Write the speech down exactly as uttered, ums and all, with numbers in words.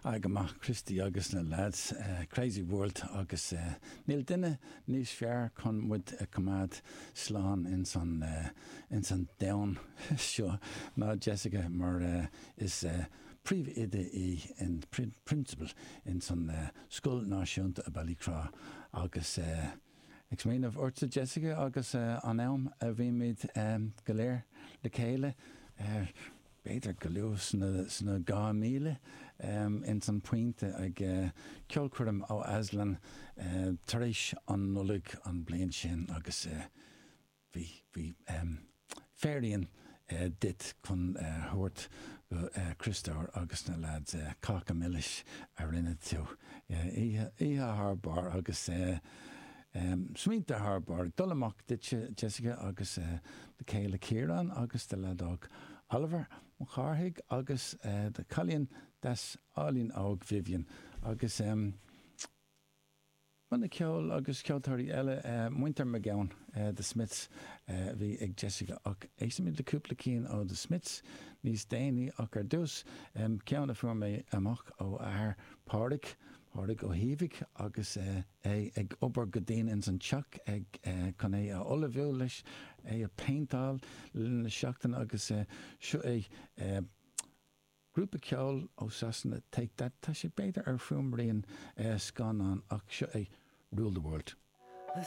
Ah, go maith Christy agus na lads uh, Crazy World agus uh, níl duine níos fearr chun muid a choimeád slán ins an uh, ins an domhan seo ná Jessica mar uh, is uh, príomhoide í in principal in san uh, Scoil Náisiúnta i Ballycroy agus uh, Ag smaoineamh ortsa Jessica agus uh, an am a bhí muid um, go léir le chéile uh, b'fhéidir go luath sna, sna dhá mhíle um, in san Pointe ag uh, ceolchoirm ó Aslan uh, tar éis an Nollaig an bliain sin agus uh, bhí bhí um, féiríon uh, dit chun uh, thabhairt go uh, Christóir agus na lads uh, cáca milis a rinne tú oíche thar barr agus uh, Um, Smaointe thar barr dul amach duit Jessica agus uh, do chéile Ciarán agus do leaid óg Oliver Cárthaigh agus uh, do chailín deas álainn óg Vivian agus um, Banna ceoil agus ceoltóirí eile uh, Muintir McGowan uh, The Smiths uh, bhí ag Jessica ach éistfimid le cúpla ceann ó The Smiths níos déanaí ach ar dtús um, ceann a fuair mé amach ó athair Pádraig Pádraig Ó hÍomhaigh agus uh, é ag obair go dian ins an teach ag uh, chun é a ullmhú leis é a péinteáil na seachtain agus uh, seo é uh, Grúpa ceoil ó Sasana Take That tá sé b'fhéidir ar fuaimrian uh, scannán ach seo é Rule the World. The